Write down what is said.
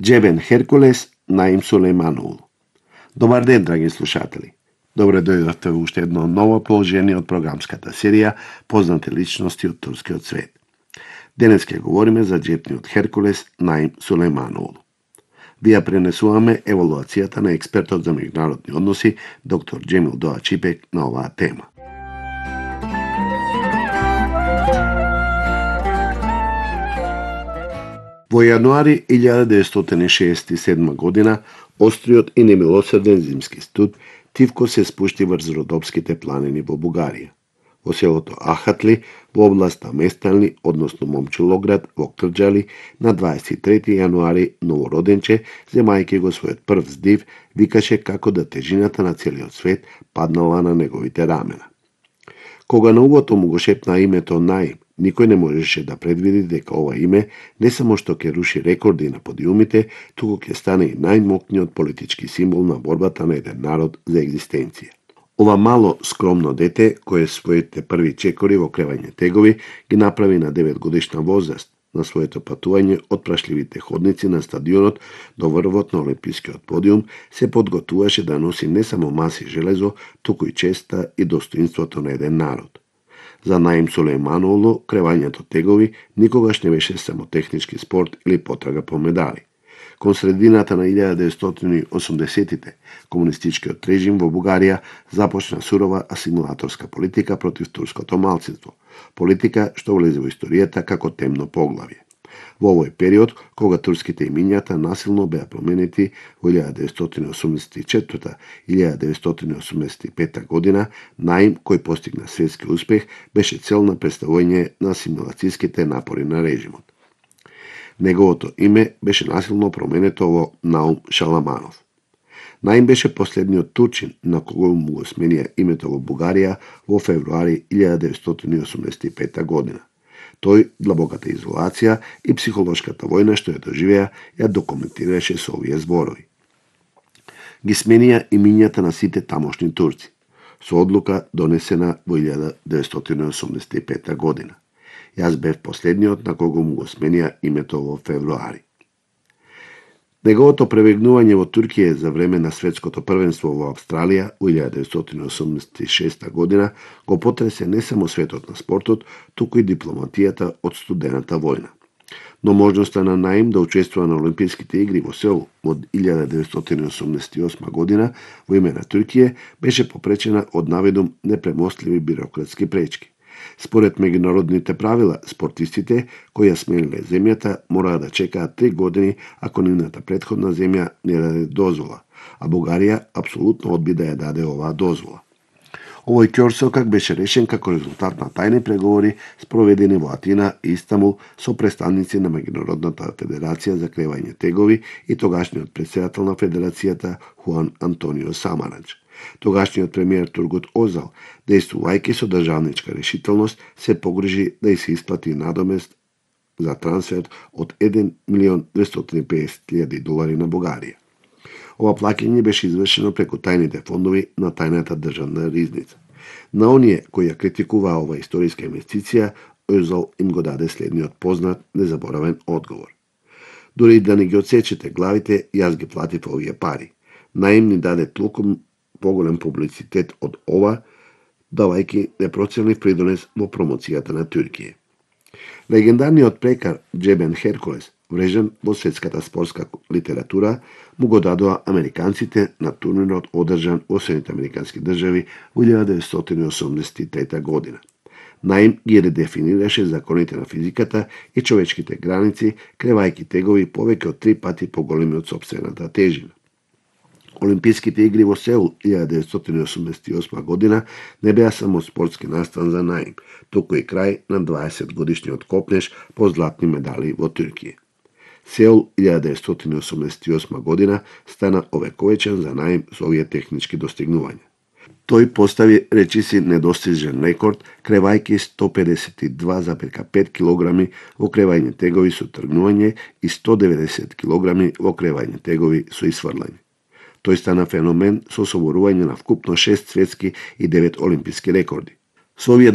Джебен Херкулес, Наим Сулейманову. Добар ден, драги слушатели. Добре дојдовте во уште едно ново положение од програмската серија Познати личности од турскиот свет. Денес ќе говориме за джебниот Херкулес Наим Сулейманову. Ви ја пренесуваме евалуацијата на експертот за меѓународни односи доктор Джемил Доа Чипек на оваа тема. Во јануари 1967 година, остриот и немилосреден зимски студ тивко се спушти врз Родопските планини во Бугарија. Во селото Ахатли, во областа Местални, односно Момчилоград, во Крџали, на 23 јануари новороденче, земајќи го својот прв здив, викаше како да тежината на целиот свет паднала на неговите рамена. Кога на увото му го шепна името Наим, никој не можеше да предвиди дека ова име не само што ќе руши рекорди на подиумите, туку ќе стане и најмокниот политички символ на борбата на еден народ за екзистенција. Ова мало, скромно дете, кое своите први чекори во кревање тегови, ги направи на 9 годишна возраст, на своето патување од прашливите ходници на стадионот до врвот на олимпискиот подиум, се подготуваше да носи не само маси железо, туку и честа и достоинството на еден народ. За Наим Сулейманову кревањето тегови никогаш не беше само технички спорт или потрага по медали. Кон средината на 1980-тите, комунистичкиот режим во Бугарија започна сурова асимилаторска политика против турското малцинство, политика што влезе во историјата како темно поглавје. Во овој период, кога турските имињата насилно беа променети во 1984-1985 година, Наим, кој постигна светски успех, беше цел на представување на асимилацијските напори на режимот. Неговото име беше насилно променето во Наум Шаламанов. Наим беше последниот турчин на кого му го сменија името во Бугарија во февруари 1985 година. Тој, длабоката изолација и психолошката војна што ја доживеа, ја документираше со овие зборови. Ги сменија имињата на сите тамошни турци, со одлука донесена во 1985 година. Јас бев последниот на кого му го сменија името во февруари. Неговото пребегнување во Туркија за време на светското првенство во Австралија во 1986 година го потресе не само светот на спортот, туку и дипломатијата од студената војна. Но можноста на Наим да учествува на Олимписките игри во Сеул во 1988 година во име на Туркија беше попречена од наведум непремостливи бирократски пречки. Според меѓународните правила, спортистите кои ја смениле земјата мораа да чекаат 3 години ако нивната претходна земја не даде дозвола, а Бугарија апсолутно одби да ја даде оваа дозвола. Овој ќорсокак беше решен како резултат на тајни преговори спроведени во Атина и Истанбул со представници на Меѓународната федерација за кревање тегови и тогашниот претседател на федерацијата Хуан Антонио Самарач. Тогашниот премиер Тургут Озал, действувајќи со државничка решителност, се погрижи да и се исплати надомест за трансфер од $1.250.000 на Бугарија. Ова плаќање беше извршено преку тајните фондови на тајната државна ризница. На оние кои ја критикуваа ова историска инвестиција, Озал им го даде следниот познат, незаборавен одговор. Дури да не ги одсечете главите, јас ги платив овие пари. Наим ни даде толку поголем публицитет од ова, давајќи непроценлив придонес во промоцијата на Туркија. Легендарниот прекар Джебен Херкулес, врежен во светската спортска литература, му го дадоа американците на турнирот одржан во Соединетите американски држави во 1983 година. Наим ги редефинираше законите на физиката и човечките граници, кревајќи тегови повеќе од 3 пати поголеми од сопствената тежина. Олимписките игри во Сеул 1988 година не беа само спортски настан за Наим, туку и крај на 20 годишниот копнеж по златни медали во Туркија. Сеул 1988 година стана овековечен за Наим со овие технички достигнувања. Тој постави речиси недостижен рекорд, кревајќи 152,5 кг во кревање тегови со тргнување и 190 кг во кревање тегови со исфрлање. Тој стана феномен со соборување на вкупно 6 светски и 9 олимписки рекорди. Со овие